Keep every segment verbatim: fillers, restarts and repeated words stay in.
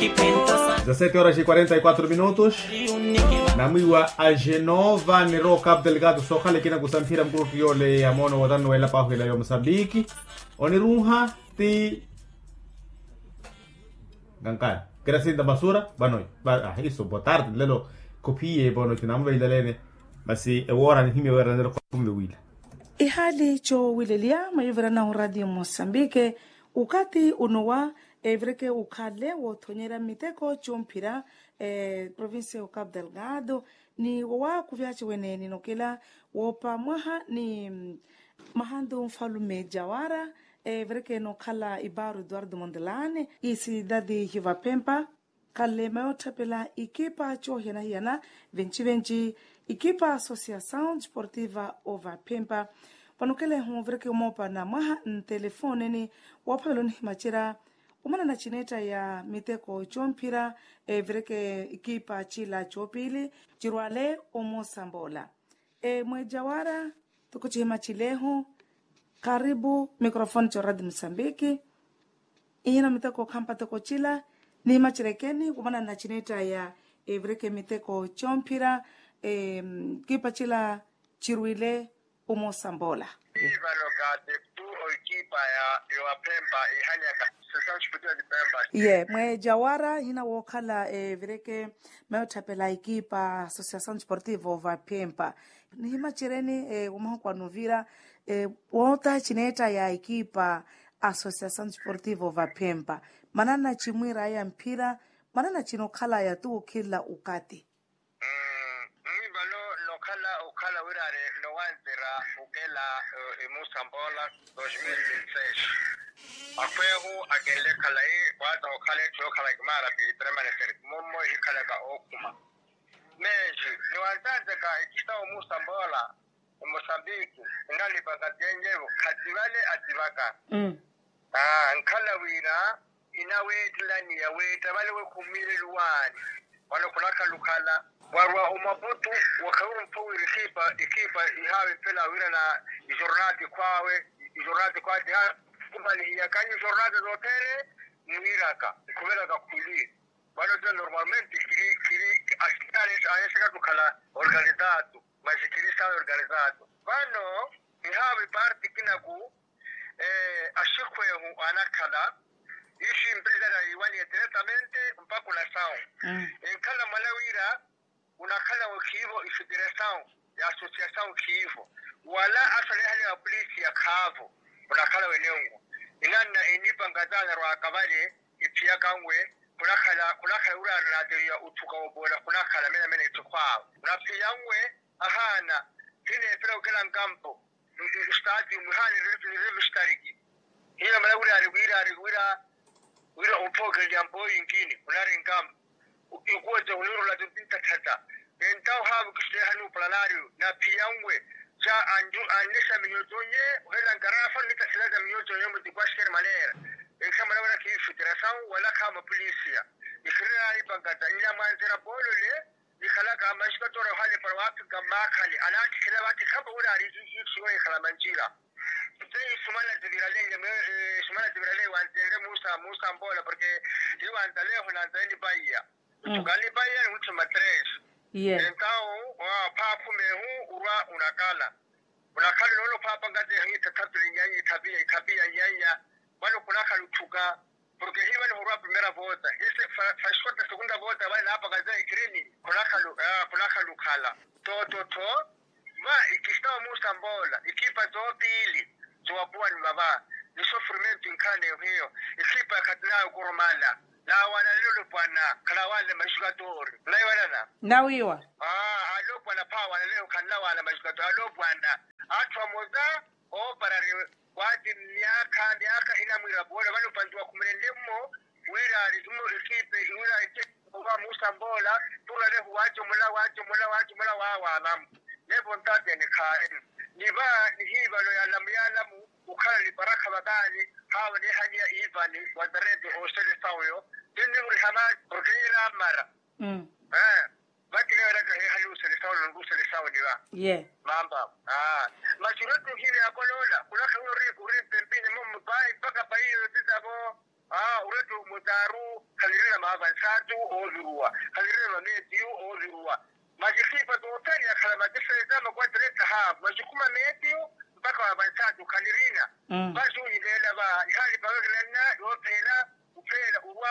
Dezasete horas e quarenta e quatro minutos. Namwiiwa a genova niro capo delgado sookhala ekina kusamphira mukuruttu yoole ya moono wootano weela paahwela ya mosambiki. Oniruuha ti kankani kirasinta masura. Vano iso botarde nlelo khuphiye vano tinamuveilelene. Masi ewoora nihimya weera nlelo khumve wila. Ihaali coowileliya maivirana oradio mosambike. Ukati unowa evireke ukhale woothonyerya miteko comphira provincia ya capo delgado. Ni wowakuvyaci wene ninokela woopa mwaha ni mahandu nfalume jawara evireke nookhala ibaru eduardo mondelane isidadi hivapempa. Khalema yootthapela ikipa coohiyana-hiyana venci-venci ikipa associação desportiva ovaphempa. Vano khelehu vireke omoopa na mwaha ntelefoneni woophavela onihimacerya omanana cineetta ya miteko comphira evireke ikipa cila coopili cirwale omoosamboola. Mweejawara toko cihimacilehu karipu microfone coradi musambiki. Ihina miteko khampa toko cila nihimacerekeni womanana cineetta ya evireke miteko comphira kipa cila cirwile omoosamboola. Ivano katetu oikipa ya yowaphempa ihanyaka session chiputi ya tipempa. Ye mweejawara ihina wookhala evireke mayootthapela ikipa associação desportiva ovaphempa. Nihimacereni womahuku anovira woota cineetta ya ikipa associação desportiva ovaphempa manana cimwiiraya mphira manana cinokhalaya tuwo khila ukati. Mwi vano nokhala okhala wiraari nowanzira okela emusa mbola dos mil vinte seis. Akhweehu akenle khalayi waata okhala etthu yookhala kimaara piili permanente. Mummo ehikhalaka ookhuma meesi niwanzanzeka ekista omusa mbola. Mosambiki inalipa katenyevo khativale ativaka. Nkhala wira inaweettelaniya weetta vale wekhummile luwaani. Vano khulakhalukhala warwa omaputu wakhawirumpha wira ikipa ikipa ihaawe mphela wirana ijornati khwawe. Ijornati khwawe tiha khumalihiya kanyu ijornati zothene mwiiraka nkhuvelaka khuli. Vano tino normalmente khiri khiri asitale ayesekattu khala organizado. Masi khiri sawa organizado vano ihaavo iparti kinaku axikhweehu anakhala ixi mpiritari ayiwaniye diretamente mpakha unasawu. Enkhala mwala wira unakhala okhiivo ifederasawu ya asosiasawu khiivo wala asolehale apolisi yakhaavo. Unakhala wenenwo inanna enipanka taanarwaka vale iphiyakanwe khunakhala khunakhala uraari nateriya uthuka wopoola khunakhala menamena itthikho awe unaphiyanwe. Ahaana hina efela okela nkampo. Stadium ihaana nireve sitariki hina mala wiraari wiraari wira wira ophookeliya mpoyi nkini khunari nkampo. Ikuwete khuniirula tintatthata entawo haavi okisiteha nuupalanaari naphiyanwe. Sa anju anne sa minyotonye ohela nkarafa nitasilata minyotonye muti kwasiter manera. Enkhamala wala khiifitira sawu wala khaama polisia. Ikhirinaari pankata nnyamwanzira poolole nikhalaka maxikatora ohale para waaphika mmaakhani anaattikhela vathi khapa wira ari ixiwa ikhala manjira. Tse isumana tivirale nyame isumana tivirale wantenle musa musa mbola porke tiwantaleho nantale nipaiya. Ntuka nipaiya ni ultima tres. Entawo phaakhumehu urwa unakala unakhala noolo phaapa nkateha ithathapiri nyanya ithapiya ithapiya nyanya. Vano khunakhala uthuka porke hiva nihurwa primera vota hise faxota segunda vota vale naapakaza ekirini. Khunakhala khunakhala ukhala tootottho. Va ikista omusa mbola ikipa toopiili sowapuwani vava ni sofrimento inkhala neehiyo. Ikipa khatinawe okoromala naawananile olopwana khalawanle maxikatori naiwanana. Nawiiwa alopwana phaawanaleho khannawaana maxikatori alopwana atthu amosa ooparari. Waati myaakha myaakha hinamwiira poole vano pantu wakhumelenle mmo wira ari ekipe wira ekipe musa mboola. Turalehu waacomola waacomola waacomola waawaalamu nevo ntatene khaari. Ni va nihiivalo yaalamu yaalamu okhala niparakha vakaani. Haavo neehaniya iivani wazarete ooselesawo yo tinni muriha maati porke nyela ammara. Vakireeraka heehali oselesawo nonke oselesawo ni va. Ye maamba. Masi oretti ohiive yakoloola khulakha wi ori mpempini mummo payi mpaka payi yoyo titavo. Oretti omutaaru khalirina. Avansaatu ooviruwa, khalirina mameetiyu ooviruwa. Masi khipa tothene yakhala masi feza makwatele tahavu masi khuma meetiyu mpakha wa avansaatu khalirina. Masi oniveela va nihaali pakakilanna yoophela, uphela urwa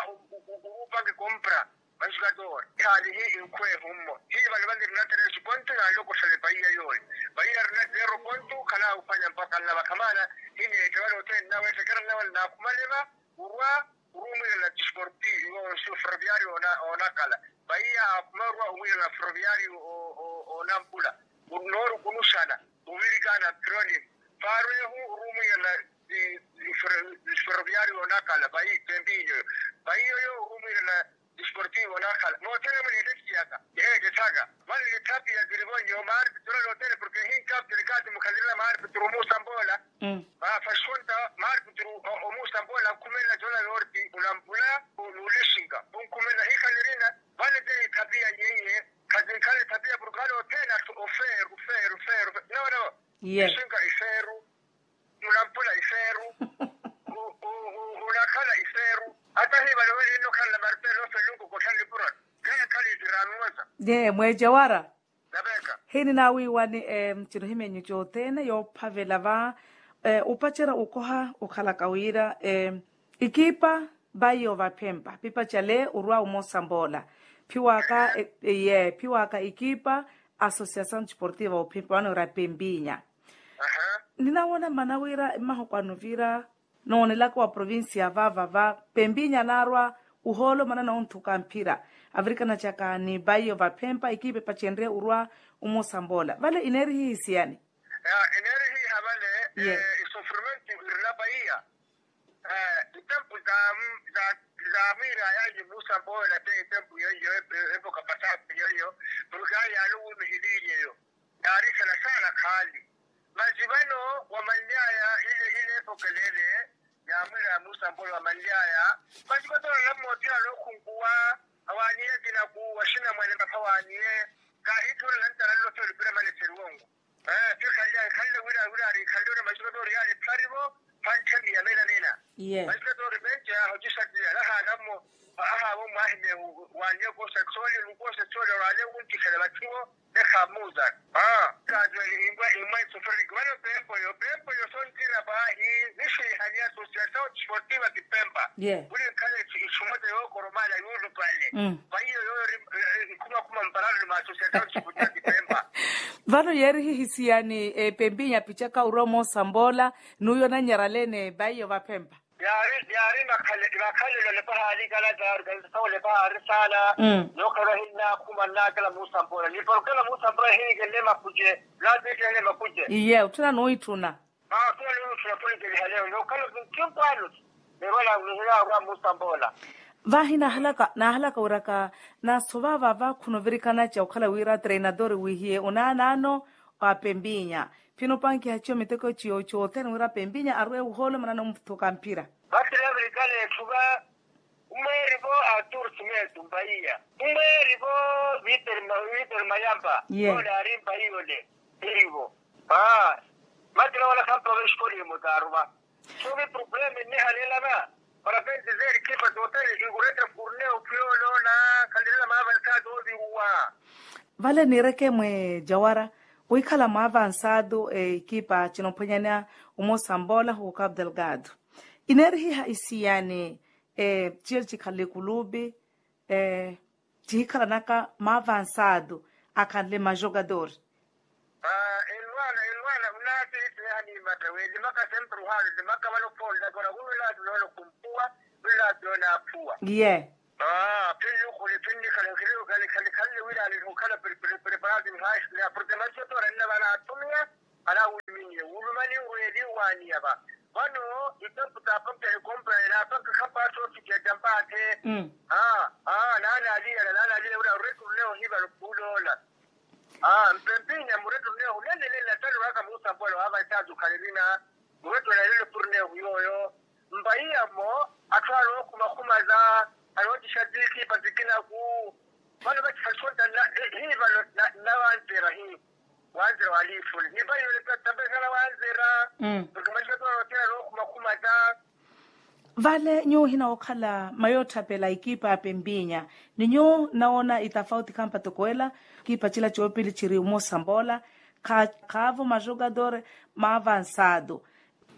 urupange compra. Masi katoora nihaali hi inkhweehu mmo hi vano vanirina tresi pontu naalokoxale paiya yooyo. Paiya arina zero pontu khalaahuphwanya mpakha nlava khamana. Hineetta vale othene nnaweetteke arina vale naakhumaleva urwa urumwirela tisportivo ferroviario. Onakala vaiya akhuma orwa omwirela ferroviario. Onampula noorukunuxana ovirikana acronim. Faarwehu orumwirela ferroviario onakala vai pempinyo. Vaiyoyo orumwirela tisportivo onakala moothene mweneettethiyaka. Eettethaka vale nithapiya zirivonyo maari pituro nothene porke hinkaptele kaati mukhalirela maari pituro omuusambola. Vaafaxonta maari pituru omuusambola akhumelela jola yorti unampula nuulixinka. Onkhumelela hikhalirina vale te ithapiya nyeiye. Khazinkhale ithapiya porke vale othene athu ofeeru feeru feeru. Nawo nawo ixinka ifeeru munampula ifeeru. Unakhala ifeeru. Ata hivale wene inno khanla martelo felunku kottha nipurano. Khayakhale itiranuwasa. Ye mweejawara. Hininaawiiwani. Cino himyeenyu cothene yoophavela va opacerya okoha okhalaka wira ikipa vaiyo vaphempa pipacale orwa omoosamboola. Phiwaka ye phiwaka ikipa associasaw desportiva ophempa vano ira pempinya. Ninawoona mmana wira mmahokwano vira noonelaka wa provincia vaava va pempinya anaarwa ohoolo manana onthuka mphira. Avirikana caka ni vaiyo vaphempa ikipa epacenrye orwa omoosamboola vale ineerihihisiyani. Eneerihiha vale isofrimenti irina vaiya. Ntempu za mwiira yaanyi muusamboola te ntempu yoiyo epoka pasaapu yoiyo. Porke ayi yaani owuumihiliinyeyo yaari sana sana khaali. Masi vano wamanly'aya ile ile epokelele ya mwiira ya muusamboola wamanly'aya. Masi vano ola mmoothiyana okhunkuwa awaaniye akinaku waxinamwane mpakha awaaniye. Kaahitthuwela nantala nlotho olipira maleseri wongo. Tikhalya ikhalle wira wira ari ikhalle ori masi vano ori yaari pharivo. Phantthe miya mena mena. Masi vano ori menca yaahocisatiya lahaana mmo ahaavo mwaahimye waaniye koosa exoli nukoosa exoli orwaale wuntikhela vatthiwo. Nekhamuuza kaatweli imbwa imwa isofriki vano peepoyo peepoyo sonttira paahi. Nixwiihani associasaw desportiva kipempa. Vuli nkhala ixumweta yookoromala yuulupale. Vaiyo yooyo ori ikhumakhuma mpararoni mwa associasaw desportiva kipempa. Vano yeerihihisiyani epempinya apicaka orwa omoosamboola n'uyo onannyaraleene vaiyo vaphempa. Yaari yaari makhalelo nepahaali kala taarikanisasawo nepahaali saana. Nookhala ohinnaakhuma nnaakela muusamboola ni porkela muusamboola hinikelle makuce. Naapiittihele makuce. Iye otthuna nuwitthuna. Aa khula nuwitthuna khunikelihaleyo nookhala kinkimpwaano. Neerwala nihilaarwa muusamboola. Vaahi naahalaka naahalaka wiraka. Naaso vaava vakhunovirikanaca okhala wira treinador wiihiye onaanaano wa pempinya. Phino opankiha ciyo miteko ciyo cothene wira pempinya arwe ohoolo manana omuthuka mphira. Vattila virikana etthu va umweeri vo artur simetu mpaiya umweeri vo. Viiteri mayampa ole ari mpaiya ole. Erivo aa. Vattila wala khampa va exikolimu taaruva. Sovi probleme nnihalelana. Parapente zeerikipa tothene ikuretta furneyo phiyooloona. Khalirela maavansaato oviruwa. Vale niireke mwe jawara wikhala mwaavansaato ekipa cinophwanyana. Omosa mpoola huuka abdelgado ineerihiha isiyani. Ciyo cikhala ekulupi cihikhalanaka maavansaato akhanle majogadori. Enwana enwana unaatiittiha niimatta weelimaka sempre ohaana olimaka vano khoollaka ora khunulaati noona khumpuwa. Nulaati noona aphuwa. Ye. Phinnukhuli phinnikhala nkhireyo khali khali khanle wira alinha okhala preparati nhaashineya porke mansotto oranna vano attumiya. Anawuluminiye wulumani weeli waaniya va. Vano itempu taapanke hikompra ene apanke khapaatha osiketta mpaathe. Aa naana aliyela naana aliyela wira oreturneya ohiva lopuloola. Aa mpempinya mureturneya hunenenenna tani waka muusampwela waava isaatu khalirina. Mureturneya lelo purneya ohuyooyo. Mpaiya mmo atthu anookhuma khumaza. Anoocisa tiikipa tikinaku. Vano vacihasontana hi vano nnawanzera hi. Wanzira waliifuni ni vaiyole tampesala wanzira. Porke mwaxikatona nothena nookhuma khumata. Vale nyuwo ohina wookhala mayootthapela ekipa ya pempinya, ni nyuwo nawoona itafauti khampa toko ela. Ekipa cila coopili ciri omuusamboola, khaavo majogador maavansado.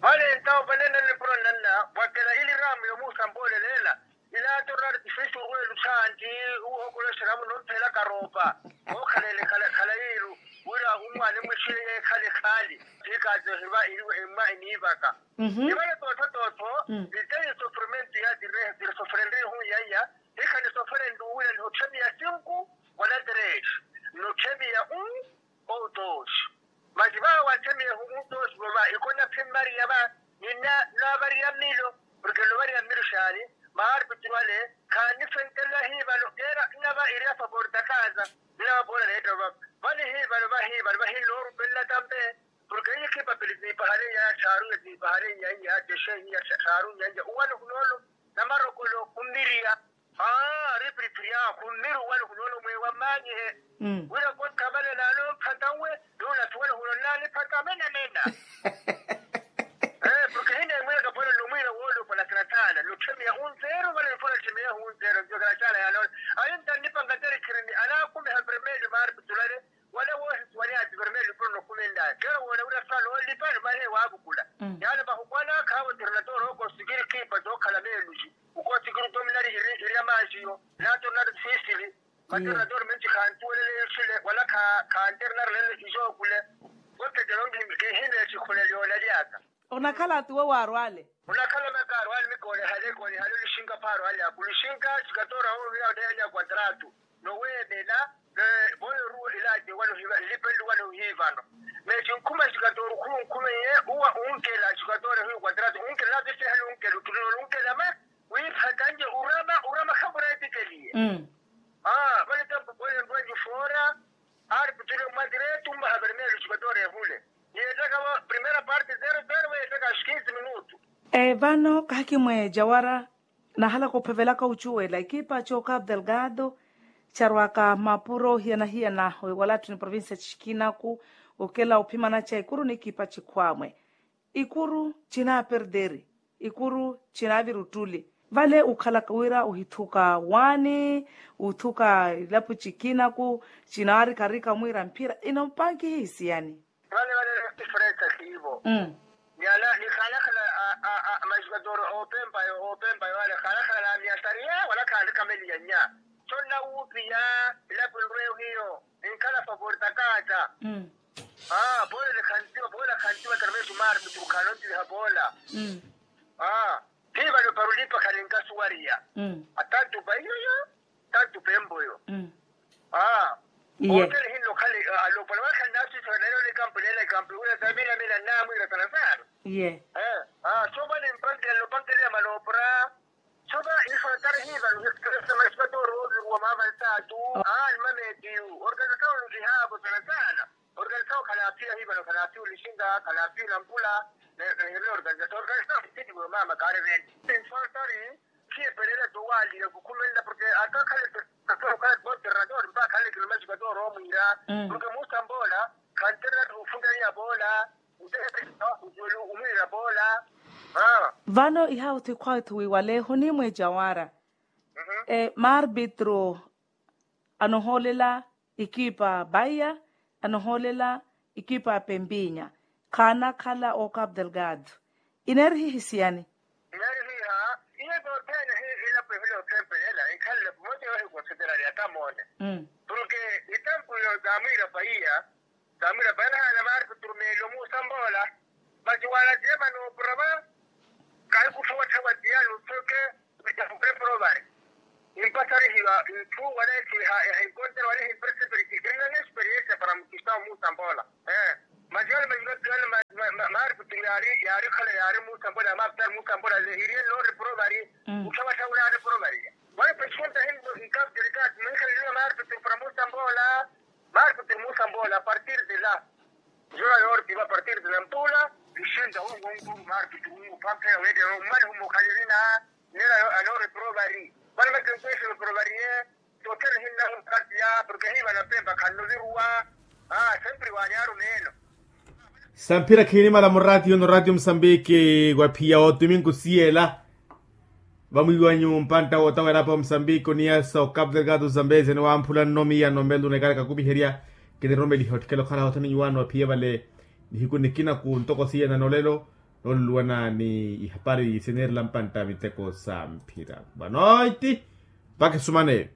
Vale entawo vale nanne puro nanna, pwakela ili ramu yomuusamboolela ela. Ila tornari tifisi orweelu thaanti, uhokolosera muno mphela karoopa. Ookhalele khala yiiru, wira umwaani mwixile yeekhale khaali. Tiikaatehiva iriwe emma eniivaka. Ivale tootho tootho, niteyi sofrementi ya tirehe tirisofrende ehun yaiya. Hikha nisofrende uwira nihotthemiya sinku wala tres, nihotthemiya un ou dos. Masi vava wanthemiya ehun un dos vova ikona phimmariya va, nina navariya mmilo. Porke novariya mmilo xaani, maarpitru ale khaanifentelela hiivano keera nnava iri a favor ta kaasa. Nnava poona neetta vava vale hiivano vahiivano vahinnoorupelelaka mpe. Porke hiyo ekipa pili tiipahale iya tthaaru iya tiipahale iya iya teshe iya tthaaru iya iya uwano hunoolo namarokolo khummiriya. Aa ari piriphiri ahu khummiri uwano hunoolo mweewa mmaanyihe. Wira kottha vale naale omphata nwe, nuula suwano huno nnaaniphata menamena. Porke hineemwiraka pwano nnomwiira woolopwa na tharathaana notthemiya unzeero vale nifuna tthemiya hunzeero nziwakala caala yaanoona. Ayo ntannipanga teri khirini anaakumiha vermelho maarpitru ale. Wala woohisiwa ni ativermeli puro nokumenlaya keera woona wira saala oolipani mahe waavukula. Yaala vahukwana khaavo tornador ooko sikiri kiipa tookhala meelusi. Uko sikiri tominari iri ya mansiyo na tornador sisili. Matornador menci khantuwelele nsile wala khanternarilele isookule. Kotteke nonkihimile esikhulela yoonalyaka. Onakhala atuwe waarwale. Onakhala makaarwale mikoolehale koolehale olishinka phaarwale aku lishinka sikatoora owiya oneya kontratu. Noweemela. Voyo oruwa ilace wano hiva nlipe nluwa nohiivano. Meecinkhuma sikatoora okhuma onkhume iye uwa unkela sikatoora hiyo kontratu unkela natisehale unkela ottulina onkela ma wiiphatanye urama urama khamureetikeliye. Vale tempu pwele nrwenyu foora. Aari putule mwa tiretu mmaha vermelho sikatoora ehule. Niyeettaka va primera parte zero zero weettaka xquinze minutu. Vano kahakimwe jawara. Nahalaka ophevelaka ocuwela ekipa c'ocapo delgado carwaka mapuro hiyana-hiyana wala atthu ni provincia cikinaku. Okela ophimana ca ikuru ni ekipa cikhwamwe. Ikuru cinaperderi. Ikuru cinavira ottuli. Vale okhalaka wira ohithuka waani othuka ilapo cikinaku. Cinaarika-rika mwiira mphira inompankiha isiyani. Vale vale tifresa siivo. Nyala nikhalakhala. Majukatoro oopempa yo oopempa yo ale khalakhala na miasariya wala khaalikameliya nya. Sonna wuupiya ilapo nrweyo hiyo. Ninkhala favor ta kaata. Aa pole nikhantiwa pole khantiwa tarmesu maari miturukhano ntiliha poola. Aa thiivale oparulipa khaninkasuwariya. Atantu paiyoyo. Tantu pemboyo. Aa. Otele hinno khale alopola wala khannaasisa nalelo nikampulela ikampulela tamelamela nnamwira sana sana. Ye. Aa sova nimpankela nopankela ya manoopora. Sova ifatari hiva nuhistresa masipatooro oviruwa mama ntaatu. Aa ni mametiyu organisasawo nkihaavo sana sana. Organisasawo khanaapiya hiva no khanaapiya olishinga khanaapiya onampula. Nahirina organisasawo organisasawo kititiwe mama kaari vene. Ifatari. Khiyepelela towaliya kukhumelela porke aka khale. Khale boterrador mpa khale kilomasi katoora omwiira porke muusamboola. Khanterela tuufunta iya poola. Utehepelela umwiira poola. Vano ihauthu ikhwathu wiiwaleeho ni mweejawara. Maarbitro anohoolela ekipa baiya anohoolela ekipa ya pempinya. Khaanakhala ocapo delgado. Ineerihiha isiyani? Ineerihiha. Iye tothene hiilapo ehule othempelena inkhalele pumoti yohikonseterari atamoone. Porke itampu yo zamwiira paiya zamwiira paiya nahaana maarpitru meelo muusamboola. Masi wala tiyemani opura va. Kahikuttha watthawa tiyani uthoke. Etahuke provari. Impasarihiwa nthu wala ehiha ehinkontera wala ehimpesipiriti kennani esperiensia para mukista omuusamboola. Masi yale majuka kiyale. Maarpitru yaari yaari khala yaari muusamboola ya maapitari muusamboola lehiriye noori provari. Utthawatthawa unaari provari. Wala pesikonta hinno nkapitali kati muhikhaleliwa maarpitru para muusamboola. Maarpitru muusamboola a partir de la. Jora yoortipa a partir de nampula. Lixinta wongo nkuru maarpitru wungu pamphela weettela ommani humukhalirina. Nela anoreprovari. Vale makenkweselo provarie. Tothene hinnahu parti ya porke hiiva napempa khannoviruwa. Aa sempre waani arumeelo. Samphira khiinimala muraatiyo no ratio musambiki waphiya otumingu siyela. Vamwiiwanyu mpantta wootawerya apa omusambiki oniyasa okapu delgado zambezia niwamphula nnomi ya nomelo nekaraka kupiherya. Kiniromeliha otthikela okharaha othoni nyuwaano aphiya vale. Nihiku nikina ku ntoko siyana nolelo nooluluwana ni ihapari sineerela mpantta miteko sa mphira vanoiti. Mpakha esumane.